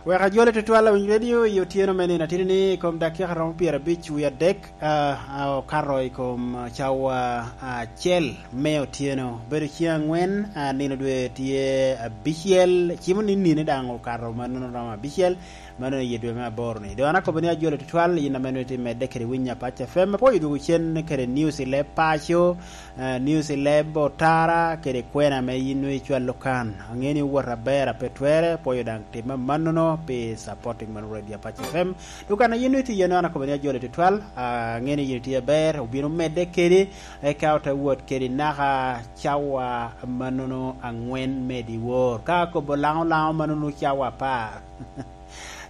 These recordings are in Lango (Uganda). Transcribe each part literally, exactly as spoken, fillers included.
Wek ajole tutwal awiny redio i otyeno me nino atidi ni i kom dakika romo pyerabic wie adek, ah, ah, okato i kom, ah, cawa acel me otyeno. Bedo ciŋ angwen, ah, nino dwe tye abicel, cimo ni nino daŋ okato mannono romo abicel, mannono i dwe me aboro ni. Doŋ an akobo ni ajole tutwal, yin ame nwoŋo itye medde kede winyo Apac F M, apwoyo dwogo cen kede news i leb paco, eh, news i leb otara kede kwena ame yin nwoŋo icwalo kan. Aŋeo ni owot aber a pe twere, apwoyo daŋ tim amannono pi supporting mano Radio Apac F M. Dok kan a yin nwoŋo itye iye-nu, an akobo ni ajole tutwal, ah, aŋeo ni yin itye aber, obino medde kede, eka ote wot kede naka cawa mannono aŋwen me dyewor. Ka akobo laŋo laŋo mannono cawa apar.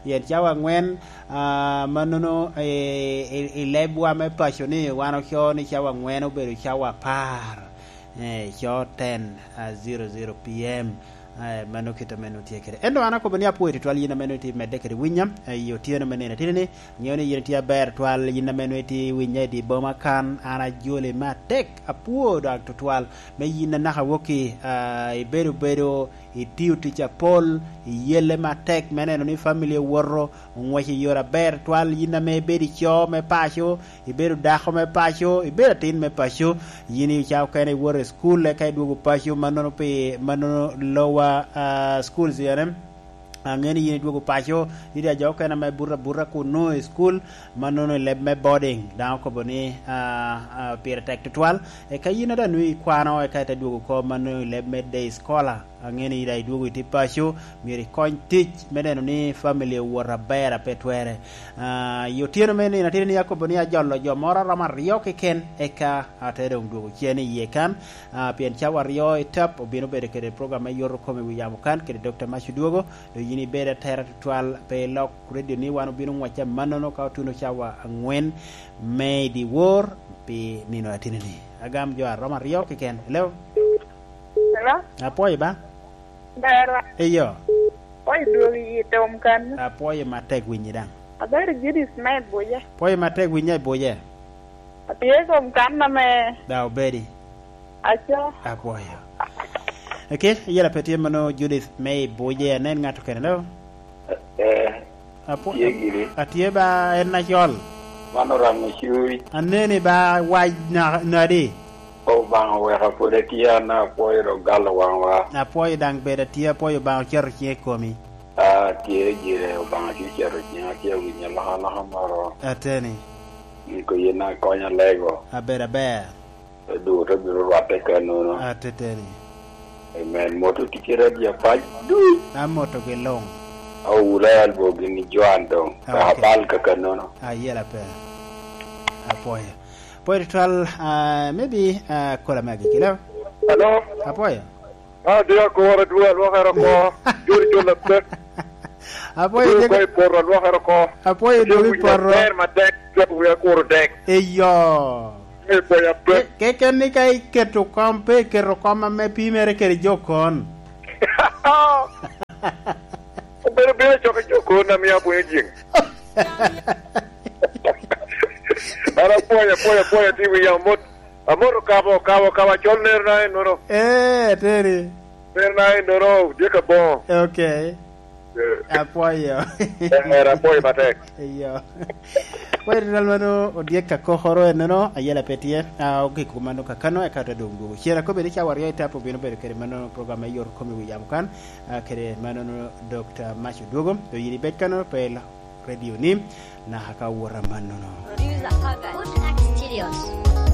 Pien cawa aŋwen, ah, mannono, eh, i, i lebwa me paco ni wan ocoo ni cawa aŋwen obedo cawa apar, eh, coo ten, ah, zero zero P M, eh, mano kit ame nwoŋo tye kede. Ento an akobo ni apwoyo tutwal yin ame nwoŋo itye medde kede winya, eh, i otyeno me nino atidi ni, aŋeo ni yin itye aber twal, yin ame nwoŋo itye winya i dye boma kan, an ajoli me atek, apwoo dok tutwal, me yin anaka wokki, ah, ibedo bedo itio tic apol, iyelle matek me neno ni famili owoto, oŋwec i yore aber twal, yin ame ibedo i co me paco, ibedo dako me paco, ibedo atin me paco, yin i ca okene iwoto i cukul, eka idwogo paco, mannono pi, mannono lower, ah, schools, yani, aŋeo ni yin idwogo paco, nitie jo okene ame buto abuta kun nwoŋo i cukul, mannono i leb me boarding, daŋ okobo ni, ah, ah, pire tek tutwal, eka yin a daŋ nwoŋo ikwano, eka ite dwogo oko mannono i leb me day scholar. Aŋeo ni yin daŋ idwogo itye paco, myero ikony tic me neno ni famili owoto aber a pe twere. Ah, i otyeno me nino atidi ni akobo ni ajolo jo moro romo aryo keken, eka ate doŋ dwogo cen i yie kan. Ah, pien cawa aryo i tap obino bedo kede program me yot okomi wi yamo kan kede Dokta Mac Odwogo. Doŋ yin ibedo atera tutwal pe ilok redio ni, wan obino ŋwacce amannono ka otuno cawa aŋwen me i dyewor pi nino atidi ni. Agam jo aromo aryo keken. Hello? Hello? Apwoyo ba? Ber wa. Eyo. Apwoyo dwogo i tom kan. Apwoyo matek winyi daŋ. Abedo Judith me Ibuja. Apwoyo matek winyi Ibuja. Atye i kom kan ame. Da obedi. Aco. Apwoyo. Eke, yela pe tye mano Judith me Ibuja, anen ŋat okene lo. Eh, Apo-, tye gini. Atye ba en acol. Man Oramo Cuny. Aneni ba wac na-, nadi? Obaŋa oweka pwod atye, an apwoyo dok galo waŋwa. Apwoyo daŋ bed atye, apwoyo Obaŋa ocito ciŋe i komi. Ah, tye gire, Obaŋa tye ocito ciŋa, tye awinyo alokaloka moro. Ateni. Niko yin akonya lego. Aber, aber. Duto bino rwatte kanono. Ateteni. Amen. Moto ticci Radio Apac duc. Amotogi luŋ. Awula albo gini Joan doŋ. Ah, ok. Abal ka kanono. Ayela pe. Apwoyo. Apwoyo tutwal, ah, maybe, ah, kola me agikki, lo? Hello? Apwoyo. Ah, di akora dwe alwokere oko. Jori jol apek. Apwoyo dwe jege. Ko i poto alwokere oko. Apwoyo dwe i poto. Ber matek, jok wi akuro dek. Eyo. Ŋe pwony apek. Ke-, keken ni ka iketo kom, pe iketo kom ame pimere kede jo kon. Obedo bino cok i jo kon, amio apwonyo jiŋ. An apwony, apwony, apwony, ati wi yamo mot. Amoto kabo, kabo, kabo, acol nero na ennono. Eh, ateni. Nero na ennono, tye ka boŋo. Ok. Eh. Apwoyo. Eh, apwoyo matek. Eyo. Apwoyo tutwal mano, odyek ka kokoro ennono, ayela pe tye. Ah, ogik mano kakano, eka to doŋ dwogo. Cen akobe ni cawa aryo i tap obino bedo kede mano program me yot kom i wi yamo kan, ah, kede mano Dokta Mac Odwogo. To yin ibed kano, pe ilo radio ni, naka ka wot amannono. Producer Hagan. Good Act Studios.